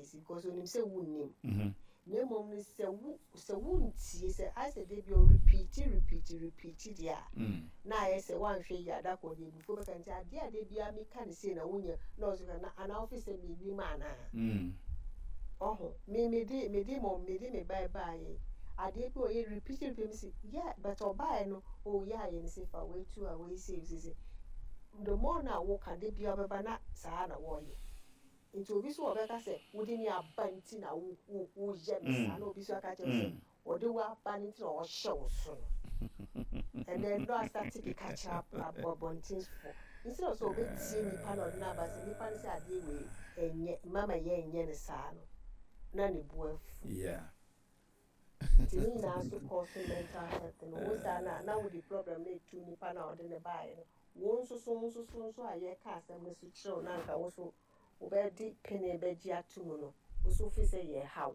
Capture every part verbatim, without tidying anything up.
esi, because onim sɛ wonnim. Mhm. Na mmom no, sɛ wo sɛ wontie, sɛ ayɛ sɛ de bi o repeat, repeat, repeat deɛ a, Mm. na ayɛ sɛ woanhwɛ yi adakɔ deɛ ebufuo bɛka. Nti adeɛ a de bia meka ne sei na wonyɛ na ɔso ka na anaa wofi sɛ mennim anaa. Mm. Ɔho me mede mede mo mede me bae baeɛ, adeɛ bi a ɔyɛ repeat, repeat, me si yeah, but ɔbaeɛ no, oh yeah, yɛ ne se fa wei tu a wei sei sei sei. The more na woka de bia ɔbɛba na saa na wɔyɛ. Nti obi so ɔbɛka sɛ wode ne aba nti na wo wo woyɛ me saa, Mm. na obi so aka kyerɛ wo sɛ Mm. ɔde wo aba no nti na ɔhyɛ wo so no, and then no astart keka kyerɛ ab- abɔntenfoɔ instead of sɛ ɔbɛtie nipa na ɔde no aba sɛ nipa no sɛ adeɛ wei ɛnyɛ mama yɛ nyɛ ne saa no, na ne bu afu. Yeah. Nti ne nyinaa nso kɔ so mental health no wo saa na na wode problem no etu nipa na ɔde ne baeɛ no, wo nso so nso so nso a yɛka asɛm no so kyerɛw na nka wo so wobɛde pene bɛgye ato mu no, wo so fi sɛ yɛ haw.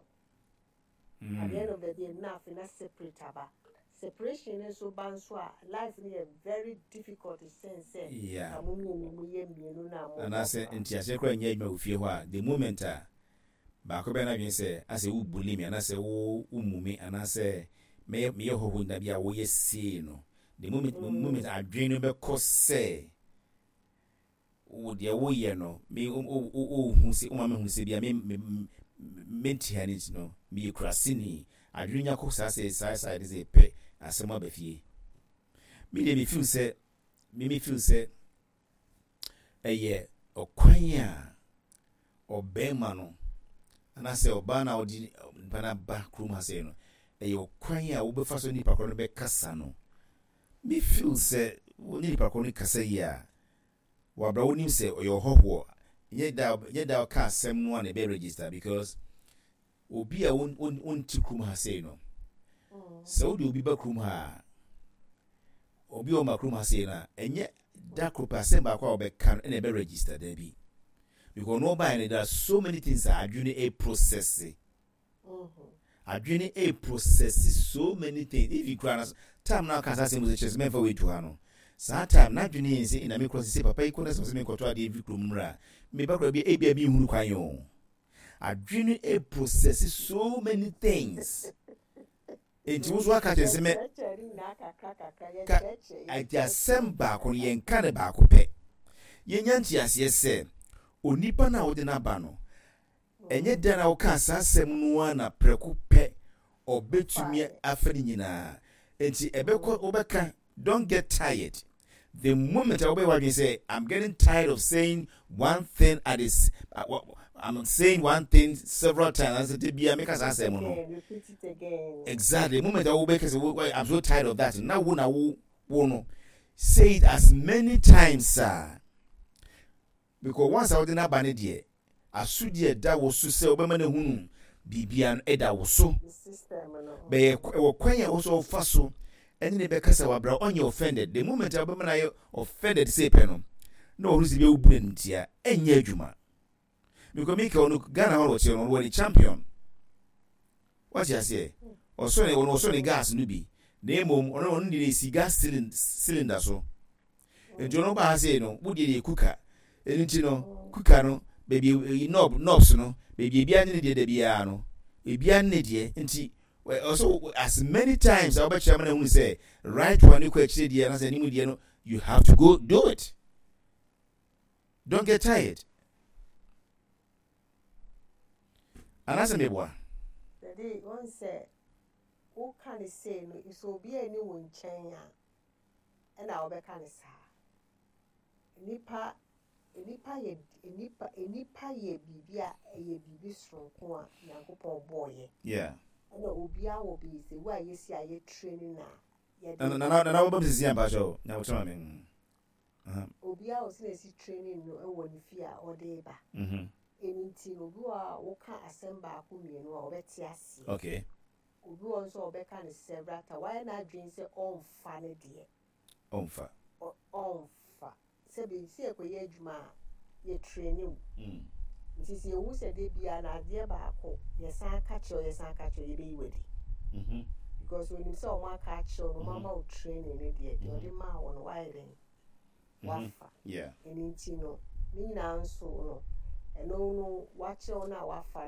At the end Mm. of the day, na afei na separate aba. Separation no nso ba nso a, life no yɛ very difficult sen sɛ Yeah. ka mo mmienu mo yɛ mmienu na mo bɔ Anaasɛ bra. Ntiaseɛ koraa nyɛ adwuma wɔ fie hɔ a, the moment a baako bɛyɛ n'adwene sɛ asɛ wo bully me anaasɛ wo womu me anaasɛ meyɛ meyɛ hɔho nna bi a woyɛ sei no, the moment Mm. moment adwene no bɛkɔ sɛ wo deɛ woyɛ no, me wohu sɛ woma mehu sɛ bia me me mente ha no, nti no meyɛ kuraseni. Adwene nya kɔ saa sɛ saa saa de sɛ pɛ asɛm aba fie. Me deɛ, me feel sɛ me me feel sɛ ɛyɛ ɔkwan a ɔbɛrima no anaasɛ ɔbaa no a ɔde nipa no aba kurom ha sɛ no, ɛyɛ ɔkwan a wobɛfa so nipa korɔ no bɛkasa no. Me feel sɛ wo ne nipa korɔ no kasa yi a, wabra wonim sɛ ɔyɛ ɔhɔhoɔ, nyɛ da nyɛ da ɔka asɛm no a na ɛbɛ register, because obi a won won wonte kurom ha sei no, sɛ wode obi ba kurom ha a, obi a ɔma kurom ha sei no a, ɛnyɛ da koro pɛ asɛm baako a wɔbɛka no ɛna ɛbɛ register. Daabi, because ɔno ɔbaeɛ no, there are so many things a adwene a process, adwene a process so many things. Even kura na time na ɔka saa asɛm sɛ kyerɛ sɛ mɛmfa wei to ha no, saa time n'adwene yɛn sɛ ɛna mekɔ sɛ papa yi kɔ na sɛ sɛ menkɔtɔ adeɛ mfiri kurom mmra, meba kora bi ebia bi nhunu kwan o. Adwene a process so many things, nti wo nso aka kyerɛ sɛ mɛ Yɛkyerɛkyerɛ ne nyinaa kakra kakra. Ka yɛkyerɛkyerɛ. Ati asɛm baako no, yɛnka ne baako pɛ. Yɛnya nteaseɛ sɛ onipa no a wode no aba no, ɛnyɛ dan a woka saa asɛm no a na prɛko pɛ ɔbɛtumi afa ne nyinaa. Nti ɛbɛkɔ wobɛka, don't get tired. The moment a wobɛyɛ w'adwene sɛ I'm getting tired of saying one thing at this, uh, I'm saying one thing several times, anaasɛ de bia meka saa asɛm no Again, repeat it again. Exactly, the moment a wobɛka sɛ I'm so tired of that, na wo na wo wo no say it as many times a, because once a wode n'aba ne deɛ, asodie ɛda wo so sɛ wobɛma no hunu biribia no ɛda wo so. The system no. Bɛyɛ ɛwɔ kwan a wɔsɔ ɔfa so ɛne ne bɛkasa wabra ɔnyɛ offended. The moment a wobɛma no ayɛ offended sɛ pɛ no, na ɔno sɛ bi awubu n'anim tia, ɛnyɛ adwuma, because mika ɔno Ghana hɔ na ɔte no, ɔno wɔ ne champion, wate aseɛ? Ɔsɔ ne ɔno ɔsɔ ne gas no bi, na mmom ɔno ɔno de esi gas cylinder so. Nti ɔno ba ha sei no, wodie deɛ cooker ɛno nti no, cooker no baabi eyi knob knobs no baabi ebi ane ne deɛ da biara no, ebi ane ne deɛ. Nti ɔsɔ as many times a wobɛkyerɛ ama no ahunu sɛ right one ne kɔ akyire deɛ anaasɛ anim deɛ no, you have to go do it. Don't get tired, anaasɛ meboa? Dade wɔn sɛ woka ne sei no, sɛ obi ani wo nkyɛn a, ɛna wɔbɛka ne saa. Nipa nipa yɛ nipa nipa yɛ biribi a ɛyɛ biribi soronko a Nyankopɔn bɔɔyɛ. Yeah ɛna obiara wɔ bi sɛ wo a yɛsi a yɛ training na yɛde nana nana nana wɔbɛm sisi ampakyɛw nyawotrɛ ma me. Obiara wɔ sɛ na esi training no ɛwɔ ne fie a ɔde ba. Mhm. Ɛno nti no, obi wɔ a woka asɛm baako mmienu a, ɔbɛte aseɛ. Okay obi wɔ nso a ɔbɛka no several times, wayɛ n'adwene sɛ ɔmfa ne deɛ. Ɔmfa. ɔ- ɔmfa sɛbi sɛ yɛkɔyɛ adwuma a, yɛ training wo. Mm. Nti sɛ yɛhu sɛ de bia na adeɛ baako yɛsan ka kyerɛ wo, yɛsan ka kyerɛ wo, yɛbɛyi w'adi Mhm. because onim sɛ ɔmo aka akyerɛ wo no, ɔmo Mhm. ama wo training no deɛ deɛ Mhm. ɔde maa wo no, wayɛ dɛn? Mhm. Wafa. Yeah ɛno nti no, ne nyinaa nso no, ɛno no wakyerɛ wo no a wafa no.